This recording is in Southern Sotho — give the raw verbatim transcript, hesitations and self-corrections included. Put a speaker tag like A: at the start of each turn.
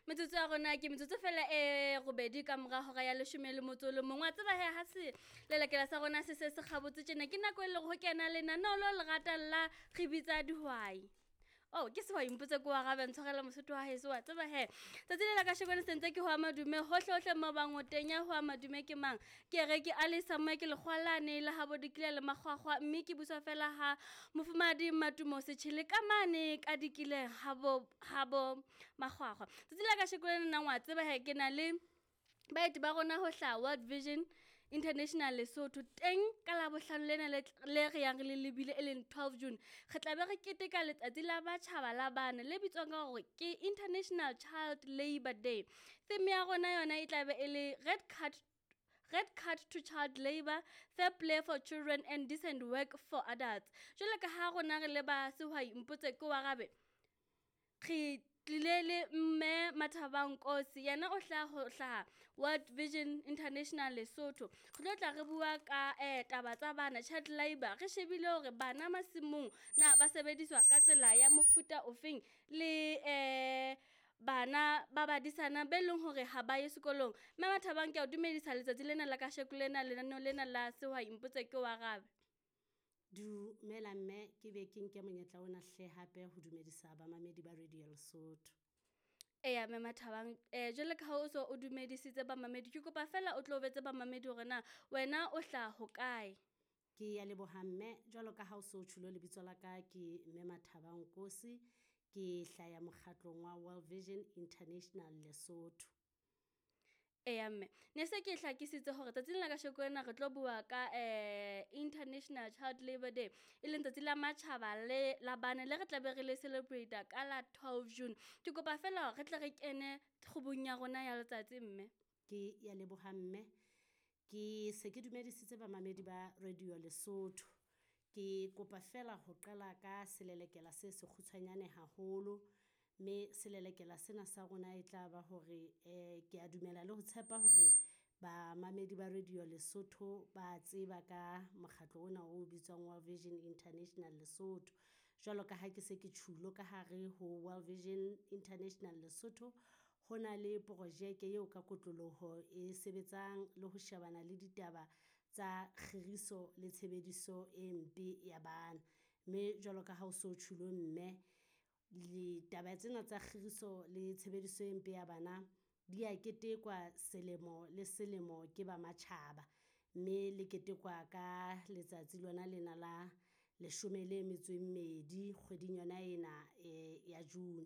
A: Metsotso ya rona ke metsotso fela e robedi ka mora hora ya leshome le motso o le mong. Wa tseba he ha se lelekela sa rona se se se kgabotse tjena, ke nako e leng ho kena lenaneo leo le ratang la re bitsa dihwai. Oh, ke sehwai mpotse ko arabe, ntshwarele Mosotho wa heso. Wa tseba he tsatsi le la kasheko le sentse ke ho a madume hohle hohle mo bang o teng. Ya ho a madume ke mang? Ke re ke Alisa Moe, ke lekgwalane le habo dikile le makgwakgwa, mme ke buswa fela ha mofumahadi Matumo Setjhele ka mane ka dikileng habo habo makgwakgwa. Tsatsi la kasheko lena nang wa tseba he ke na le baeti ba rona ho hlaha World Vision International Lesotho teng ka Labohlano lena le le re yang re le lebile, e leng twelve June. Re tla be re keteka letsatsi la matjhaba la bana le bitswang ka hore ke International Child Labour Day. Theme ya rona yona e tla be e le red card, red card to child labour, fair play for children and decent work for adults. Jwalo ka ha rona re le ba sehwai mpotse ke o arabe, re tlile le mme Mathabang Nkosi, yena o hlaha ho hlaha World Vision International Lesotho. Re tlo tla re bua ka eh taba tsa bana, child labour, re shebile hore bana masimong na ba sebediswa ka tsela ya mofuta ofeng, le eh bana ba badisana be leng hore ha ba ye sekolong. Mme Mathabang, ke a o dumedisa letsatsi lena la kasheko lena lenaneo lena la sehwai mpotse ke o arabe.
B: Dumela mme, ke be ke nke monyetla ona hle hape ho dumedisa bamamedi ba Radio Lesotho.
A: Eya mme Mathabang, eh jwale ka ha o so o dumedisitse bamamedi, ke kopa fela o tlo betse bamamedi hore na wena o hlaha hokae.
B: Ke ya leboha mme, jwalo ka ha o so tjhulo lebitso la ka ke mme Mathabang Nkosi, ke hlaya mokgatlong wa World Vision International Lesotho.
A: Eya mme, ne se ke hlakisitse hore tsatsing la kasheko lena re tlo bua ka eh International Child Labour Day, e leng tsatsi la matjhaba le la bana le re tlabe re le celebrate ka la twelve June. Ke kopa fela hore re tle re kene kgubung ya rona ya letsatsi mme.
B: Ke ya leboha mme, ke se ke dumedisitse bamamedi ba Radio Lesotho. Ke kopa fela ho qala ka selelekela se sekgutshwanyane haholo, mme selelekela sena sa rona e tla ba hore eh ke a dumela le ho tshepa hore bamamedi ba Radio Lesotho ba tseba ka mokgatlo ona o bitswang World Vision International Lesotho. Jwalo ka ha ke se ke tjhulo ka hare ho World Vision International Lesotho, ho na le projeke eo ka kotloloho e sebetsang le ho shebana le ditaba tsa kgiriso le tshebediso e mpe ya bana. Mme jwalo ka ha o so tjhulo mme, ditaba tsena tsa kgiriso le tshebediso e mpe ya bana di a ketekwa selemo le selemo ke ba matjhaba, mme le ketekwa ka letsatsi lona lena la leshome le metso e mmedi kgweding yona ena eh ya June.